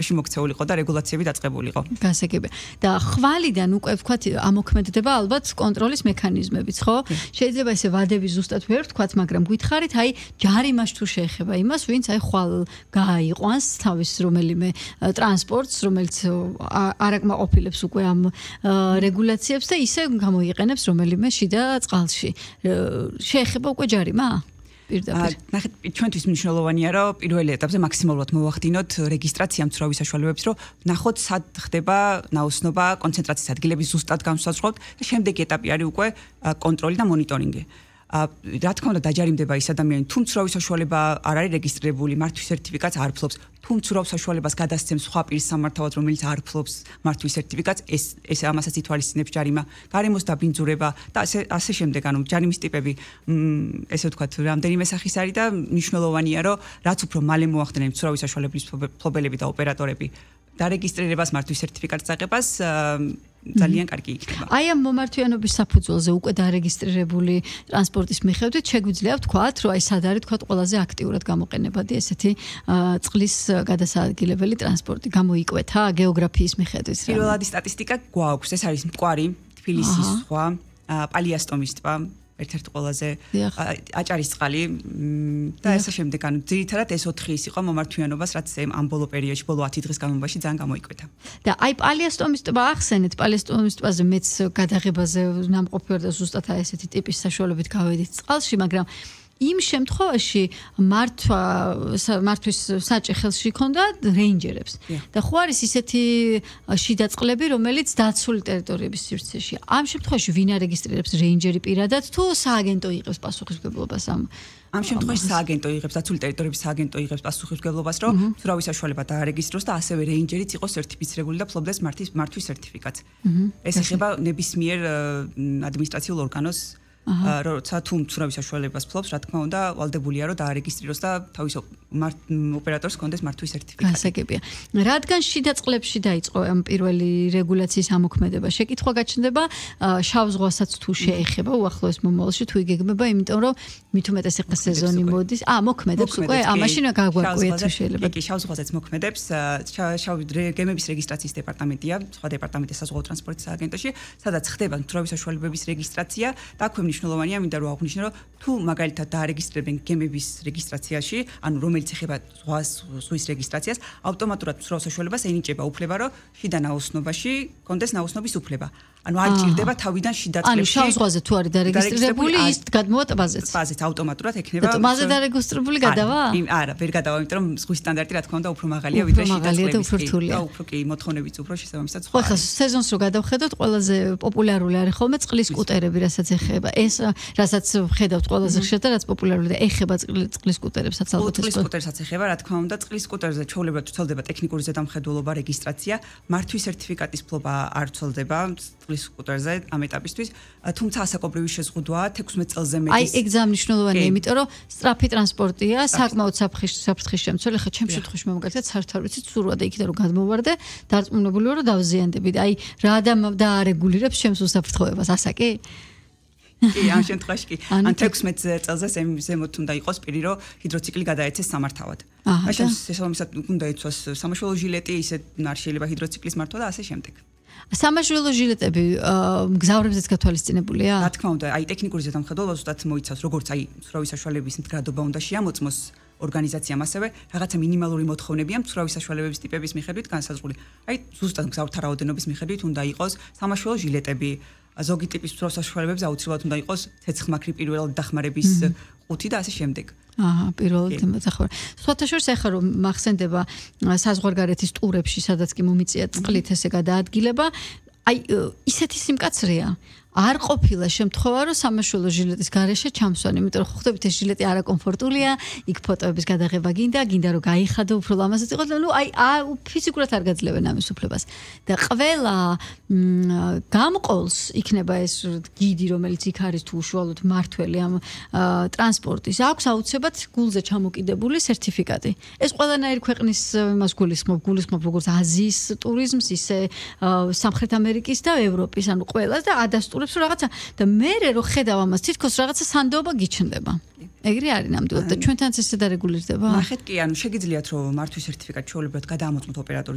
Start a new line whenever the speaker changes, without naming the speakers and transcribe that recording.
მოქცეულიყო და რეგულაციები დაწყებულიყო.
გასაგებია. და ხვალიდან უკვე ვთქვათ ამოქმედება ალბათ კონტროლის მექანიზმებიც, ხო? შეიძლება ესე ვადები ზუსტად ვერ ვთქვათ, მაგრამ გითხარით, აი ჯარიმას თუ შეეხება იმას, ვინც აი ხვალ გააიყვანს თავის რომელიმე ტრანსპორტს, რომელიც არ აკმაყოფილებს უკვე ამ რეგულაციებს და ისე გამოიყენებს რომელიმე შიდა წყალში. შეეხება უკვე ჯარიმა?
ნახეთ, ჩვენთვის მნიშვნელოვანია, რომ პირველი ეტაპზე მაქსიმალურად მოვახდინოთ რეგისტრაცია მცურავი საშუალებებს, რომ ნახოთ სად ხდება ნაოსნობა, კონცენტრაციის ადგილების ზუსტად განსაზღვრავთ და შემდეგი ეტაპი არის უკვე კონტროლი და მონიტორინგი. რა თქმა უნდა დაჯარიმდება ის ადამიანი, თუ მცურავი საშუალება არ არის რეგისტრირებული, მართვის სერტიფიკატს არ ფლობს, თუ მცურავ საშუალებას გადასცემს სხვა პირის სამართავად, რომელიც არ ფლობს მართვის სერტიფიკატს, ეს ამასაც ითვალისწინებს ჯარიმა, გარემოს დაბინძურება და ასე შემდეგ, ანუ ჯარიმის ტიპები, ესე ვთქვათ, რამდენიმე სახის არის და მნიშვნელოვანია, რომ რაც უფრო მალე მოახდინენ მცურავი საშუალების მფლობელები და ოპერატორები დარეგისტრირებას მართვის სერტიფიკატის აღებას ძალიან კარგი იქნება.
აი ამ მომართვიანობის საფუძველზე უკვე დარეგისტრირებული ტრანსპორტის მიხედვით შეგვიძლია ვთქვათ, რომ აი სად არის თქვათ ყველაზე აქტიურად გამოყენებადი ესეთი წყლის გადასაადგილებელი ტრანსპორტი გამოიკვეთა გეოგრაფიის მიხედვით.
პირველადი სტატისტიკა გვაქვს, ეს არის მტკვარი, თბილისის ზღვა, პალიასტომის ტბა, ერთ-ერთი ყველაზე აჭარის წყალი და ესე შემდეგ, ანუ ძირითადად ეს 4 ის იყო მომართვიანობას, რაც ამ ბოლო პერიოდში, ბოლო 10 დღის განმავლობაში ძალიან გამოიკვეთა.
და აი პალიასტომის ტბა ახსენეთ, პალიასტომის ტბაზე მეც გადაღებაზე ნამყოფი ვარ და ზუსტად აი ესეთი ტიპის საშუალებით გავედით წყალში, მაგრამ იმ შემთხვევაში მართვის საჭე ხელში ჰქონდა რეინჯერებს. და ხო არის ისეთი შიდა წყლები, რომელიც დაცული ტერიტორიების სივრცეში. ამ შემთხვევაში ვინ არეგისტრირებს რეინჯერი პირადად თუ სააგენტო იღებს პასუხისმგებლობას
ამ შემთხვევაში სააგენტო იღებს, დაცული ტერიტორიების სააგენტო იღებს პასუხისმგებლობას, რომ მცურავი საშუალება დაარეგისტროს და ასევე რეინჯერიც იყოს სერტიფიცირებული და ფლობდეს მართვის სერტიფიკატს. ეს ეხება ნებისმიერ ადმინისტრაციულ ორგანოს როცა თუ მცურავი საშუალებას ფლობს, რა თქმა უნდა, ვალდებულია რომ დაარეგისტრიროს და თავის ოპერატორს ჰქონდეს მართვის სერტიფიკატი.
გასაგებია. რადგან შიდა წყლებში დაიწყო ამ პირველი რეგულაციის ამოქმედება, შეკითხვა გაჩნდება შავ ზღვასაც თუ შეეხება უახლოეს მომავალში თუ იგეგმება, იმიტომ რომ მით უმეტეს ახლა სეზონი მოდის. მოქმედებს უკვე, მაშინ გაგვაკვიეთ თუ შეიძლება.
კი, შავ ზღვაზეც მოქმედებს. შავი გემების რეგისტრაციის დეპარტამენტია, სხვა დეპარტამენტი საზღვაო ტრანსპორტის სააგენტოში, სადაც ხდება მცურავი საშუალებების რეგისტრაცია და აქვე მნიშვნელოვანია, მინდა რომ აღვნიშნო, რომ თუ მაგალითად დაარეგისტრირებენ გემების რეგისტრაციაში, ანუ რომელიც ეხება ზღვის რეგისტრაციას, ავტომატურად მცურავ საშუალებას ენიჭება უფლება, რომ შიდა ნაოსნობაში კონდეს ნაოსნობის უფლება. ანუ არ ჭირდება თავიდან შიდა წყლებში.
ანუ შავ ზღვაზე თუ არის დარეგისტრირებული, ის გადმოვა ტბაზეც.
ტბაზეც ავტომატურად ექნება.
და ტბაზე დარეგისტრირებული გადავა?
არა, ვერ გადავა, იმიტომ რომ ზღვის სტანდარტი რა თქმა უნდა უფრო მაღალია ვიდრე შიდა წყლების. და უფრო კი მოთხოვნებიც უფრო შესაბამისად სხვა.
ხო, სეზონს რო გადავხედოთ, ყველაზე პოპულარული არის ხოლმე წყლის სკუტერები, რასაც ეხება. ეს რასაც ხედავთ ყველაზე ხშირად და რაც პოპულარული და ეხება წყლის სკუტერებსაც ალბათ
წყლის სკუტერსაც ეხება, რა თქმა უნდა, წყლის სკუტერზე ჩვეულებრივ ვრცელდება ტექნიკური ზედამხედველობა, რეგისტრაცია, მართვის სერტიფიკატის ფლობა არ ვრცელდება წყლის სკუტერზე ამ ეტაპისთვის, თუმცა ასაკობრივი შეზღუდვაა 16 წელზე მეტის.
აი, ეგ ძალიან მნიშვნელოვანია, იმიტომ რომ სწრაფი ტრანსპორტია, საკმაოდ საფრთხის შემცველი, ხა ჩემ შემთხვევაში მომგაცეთ საერთოდ არ ვიცი ცურვა და იქიდან რომ გადმოვარდე, დარწმუნებული ვარ რომ დავზიანდები. აი, რა დაარეგულირებს ჩემს უსაფრთხოებას, ასაკი?
კი, ამ შემთხვევაში კი. ან 16 წელზე ზემოთ უნდა იყოს პირი, რომ ჰიდროციკლი გადაეცეს სამართავად. მაშინ შესაბამისად უნდა იცვას სამაშველო ჟილეტი, ისე არ შეიძლება ჰიდროციკლის მართვა და ასე შემდეგ.
სამაშველო ჟილეტები მგზავრებზეც გათვალისწინებულია?
რა თქმა უნდა, აი ტექნიკური ზედამხედველობა ზუსტად მოიცავს, როგორც აი მცურავი საშუალებების მდგრადობა უნდა შეამოწმოს ორგანიზაციამ, ასევე რაღაცა მინიმალური მოთხოვნებია მცურავი საშუალებების ტიპების მიხედვით განსაზღვრული. აი ზუსტად მგზავრთა რაოდენობის მიხედვით უნდა იყოს სამაშველო ჟილეტები. ზოგი ტიპის მცურავ საშუალებებზე აუცილებლად უნდა იყოს ცეცხლმაქრი პირველად დახმარების ყუთი და ასე შემდეგ.
პირველად დახმარება. სხვათა შორის ახლა რომ მახსენდება საზღვარგარეთის ტურებში, სადაც კი მომიწია წყლით ესე გადაადგილება, აი ისეთი სიმკაცრეა. არ ყოფილა შემთხვევა, რომ სამაშველო ჟილეტის გარეშე ჩამსვან, იმიტომ რომ ხვდებით ეს ჟილეტი არაკომფორტულია, იქ ფოტოების გადაღება გინდა რომ გაიხადო უფრო ლამაზად იყოს, ну აი ფიზიკურად არ გაძლევენ ამის უფლებას. და ყველა გამყოლს იქნება ეს გიდი, რომელიც იქ არის თუ უშუალოდ მართველი ამ ტრანსპორტის, აქვს აუცილებლად გულზე ჩამოკიდებული სერტიფიკატი. ეს ყველანაირი ქვეყნის იმას გულისხმობ როგორც აზიის ტურიზმს, ისე სამხრეთ ამერიკის და ევროპის, ანუ ყველას და ადასტურებს რაღაცა და მე რო ხედავ ამას თითქოს რაღაცა სანდოობა გიჩნდება. ეგრე არის ნამდვილად და ჩვენთანაც ესე დარეგულირდება?
ნახეთ კი, ანუ შეგიძლიათ რომ მართვის სერტიფიკატი ჩვეულებრივად გადაამოწმოთ ოპერატორი